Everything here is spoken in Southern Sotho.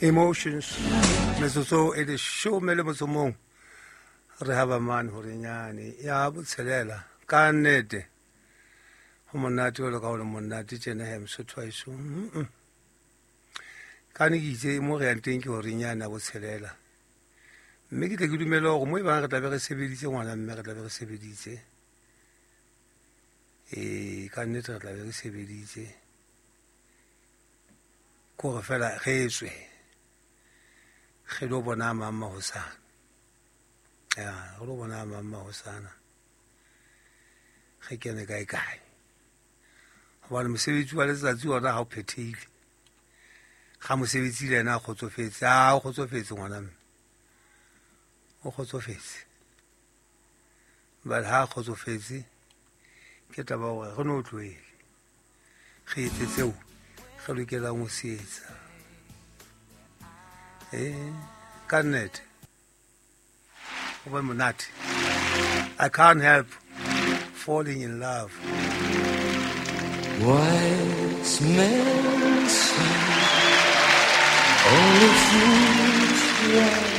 Emotions. Metsotso e leshome le motso mong re haba mane gore nyane ya botshelela ka nnete go monate jalo ka gore monate tjena he mosotho wa eso. Ka ne ke itse mo re yang teng ke gore nyane ya botshelela, mme ke tle ke dumele gore mo e bang re tlabe re sebeditse ngwana, mme re tlabe re sebeditse. Ee, ka nnete re tlabe re sebeditse, kore fela re tswe re lo bona mang mahosana. Ya re lo bona mang mahosana, re kene kae kae, gobane mosebetsi wa letsatsi ona ga o phethehile, ga mosebetsi le ena a kgotsofetse, a o kgotsofetse ngwana mme o kgotsofetse, but ha a kgotsofetse ke taba gore re no tlohele re etse tseo re lokelang ho se etsa. Ee, ka nnete go be monate. I can't help falling in love. Wise men say only fools rush